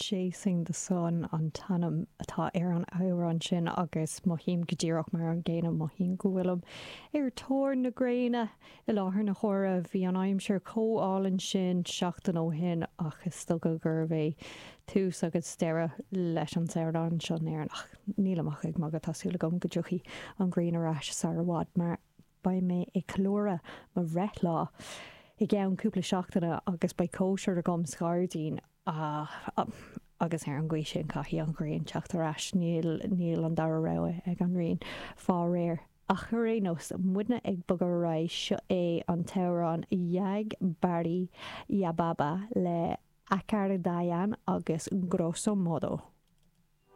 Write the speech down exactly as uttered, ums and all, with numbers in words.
Chasing the Sun an t-ainm atá ar an amhrán sin agus mothaím go díreach mar an gcéanna mothaím go bhfuilim ar tóir na gréine i láthair na huaire bhí an aimsir chomh hálainn sin seachtain ó shin ach is dócha gurbh é tús agus deireadh leis an samhradh seo in Éirinn ach níl ach ag magadh tá súil agam go dtiocfaidh an ghrian ar ais sar i bhfad mar beidh mé ag ceiliúradh mo bhreithlá i gceann cúpla seachtaine agus beidh cóisir agam sa ghairdín ah, agus ar an gcaoi sin caithfidh an ghrian teacht ar ais níl níl an dara rogha ag an ngrian fá réir. Ach ar aon nós muidne ag bogadh ar aghaidh seo é an t-amhrán Jag Bari Ya Baba le Acardayan agus Grosso Modo.